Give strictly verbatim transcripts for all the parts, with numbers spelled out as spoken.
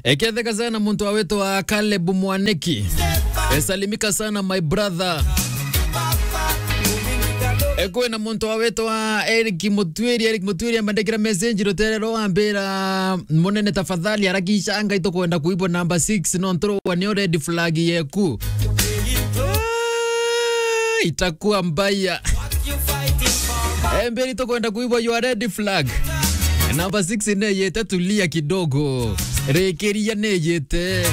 Eketheka sana muntu wa witwa Caleb Mwaniki. Esalimika sana, my brother. E, kwina muntu wa witwa Eric Mutwiri. Eric Mutwiri ambandikira message rutere rwa ambira, "Munene, tafadhali harakisha, ngai tukwenda kuibwa number six, no nturwa nio red flag yeku." Ah, itakuwa mbaya. Emberi tukwenda kuibwa your red flag. Number six neyete, tulia kidogo. Rikiria neyete.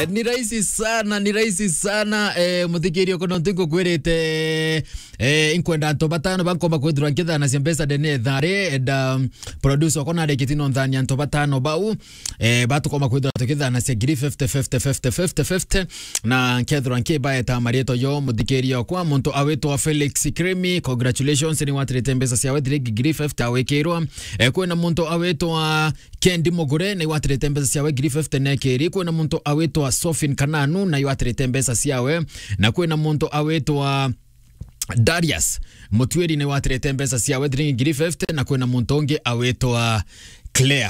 Eh, ni rahisi sana, ni rahisi sana. Eh, muthikiria, kono ntingukwirite. Eh, inkwenda antu batano bankomba kwithirwa nkithanacia mbeca ndene ethari. And, um, producer okona arikiti no nthania antu batano bau. Eh, batukoma kwithirwa tukithanacia ngiri fifty, fifty, fifty, fifty, fifty. Na nkethirwa nkibaeta marietwa yo muthikiria okwa, muntu awitwa Felix Kirimi, congratulations, ni watirite mbeca ciawe thiringi ngiri fifty awikirwa. Eh, kwina muntu awitwa Kendi Mugure, ni watirite mbeca ciawe ngiri fifty nekiri. Kwina muntu awitwa Sofin Kananu, na watirite mbeca ciawe. Na kwina muntu awitwa Darius Mutwiri, ni watirite mbeca ciawe thiringi ngiri fifty, na kwina muntu ungi awitwa Claire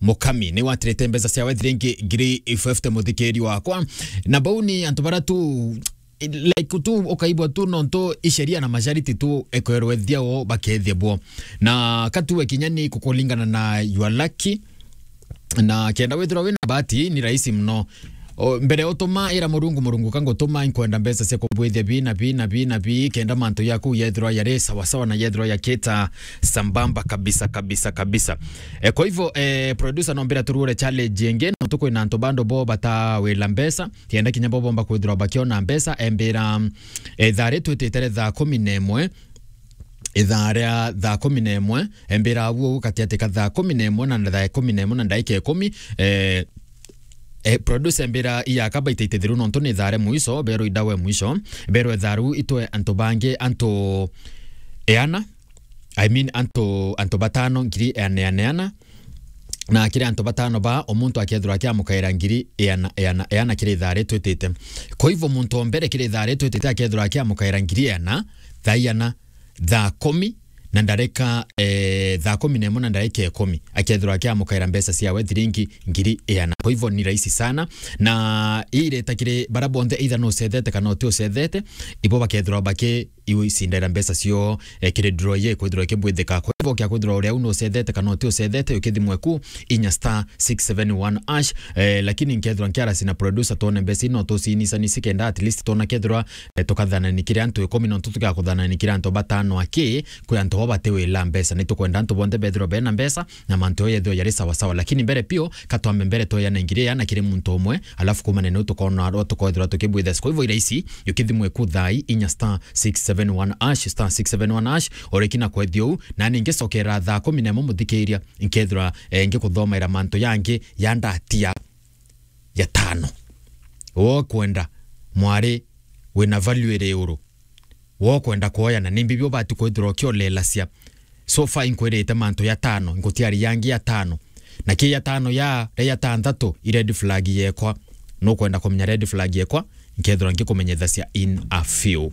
Mukami, ni watirite mbeca ciawe thiringi ngiri fifty, muthikiri wakwa. Na bau ni antu bara tu, like, tu ukaibwa tu nontu isheria na mashariti tu ekwerwe thiao bakethia bo. Na katuwe kinya ni kukulingana na your lucky. Na kenda withirwa wina bahati, ni rahisi mno. O, mbere utuma ira Murungu, "Murungu, ka ngutuma, inkwenda mbeca cia kubwithia bi na bi na bi na bi, kenda mantu yaku yethirwa yari sawa sawa na yethirwa yakita sambamba kabisa, kabisa, kabisa." E, kwa hivyo, e, producer, no mbira turure challenge ingi, no tukwina antu bando bo batawila mbeca, kenda kinya bo bomba kwithirwa bakiona mbeca, embira, e, thari twitite thaa kumi na imwe, ithaa ria thaa kumi na imwe, embira abu uu gatiati ka thaa kumi na imwe na thaa kumi na imwe na ndaika ikumi, eh, eh, producer embira iyaka baita itithiru nontu ni thaa ria mwisho, berwe idawe mwisho, berwe thaa riu itwe antu bangi, antu eana, I mean, antu, antu batano, ngiri eana, eana, eana, na kiri antu batano ba, o muntu akethirwa akiamukaira ngiri eana, eana, eana kiri thaa ria twitite. Kwa hivyo, muntu o mbere kiri thaa ria twitite akethirwa akiamukaira ngiri eana, thaa iana, thaa kumi na ndarika, eh, thaa kumi na imwe na ndarika ikumi, akethirwa akiamukaira mbeca ciawe thiringi ngiri iana. Kwa hivyo ni rahisi sana, na ii ireta kiri bara bonthe, either nucethete kana uti ucethete, ibo bakethirwa baki iu icindera mbeca cio, eh, kiri draw ye kwithirwa ikibwithika. Kwa hivyo kia kwithirwa uria u nucethete kana uti ucethete, ukithimwe ku inya star six seven one hash, eh, lakini nkethirwa nkiarasi na producer twone mbeca ino tucinicani cikenda at least twona kethirwa eh, tukathanani kiri antu ikumi, nontu tukakuthanani kiri antu batano aki, kwi antu bo bati wila mbeca. Ni tukwenda antu bonthe bethirwa bena mbeca, na mantu yo yethirwa yari sawa sawa. Lakini mbere pio, katwambe mbere tweyane ngiri iana kiri muntu umwe, alafu kumane nau tukona arwa tukothirwa tukibwithia. Kwa hivyo irahisi, yukithimwe ku thai inya star six seven one hash, star six seven one hash, oreki na kwethia uu, na ningi cokera thaa kumi na imwe muthikiria, nkethirwa, eh, ngikuthomaira mantu yangi ya ndatia ya tano. Wo kwenda mwari wina value iri iguru. Wo kwenda kwoyana, ni mbibi ubati kwithirwa ukiolelacia. So far inkwirite mantu ya tano, ngutiari yangi ya tano. Na ki ya tano ya, ria ya tanthatu, i red flag yekwa. Nukwenda kumenya red flag yekwa, nkethirwa ngikumenyethacia in a few.